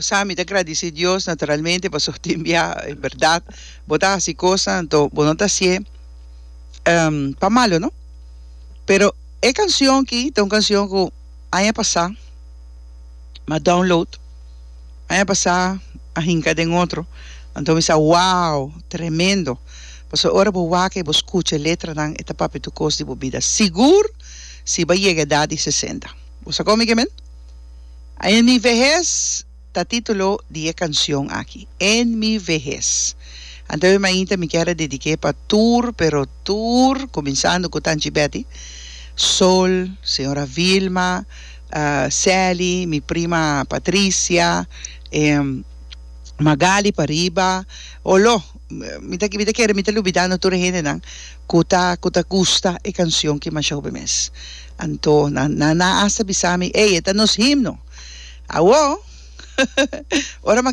Sa mi ta gradisí Dios naturalmente pasobra tin bia en bèrdat bo ta hasi kosnan anto bo no ta hasié pa malo no. Pero e kanshon aki ta un kanshon ku aña pasá mi a download, aña pasá a hinka den otro anto mi sa wow tremendo pasobra ora bo wak i bo skucha e letranan e ta papia tur kos di bo bida sigur si bo a yega edat di sesenta. Bo sa kon mi ke men? En mi vehes ta titulo di e cancion aki, En mi vehes. Anto e mainta mi kier a dediké pa tur, pero tur, cuminsando cu Tanchi Betty, Sol, señora Vilma, Sally, mi prima Patricia, Magali pariba, olo, mi ta mi ta kere mi ta lubidando tur e hendenan cu ta cu ta gusta e cancion ki masha hopi mes. Anto nan nan a hasta bisa mi, ey, e ta nos himno. Awo, ora mi a.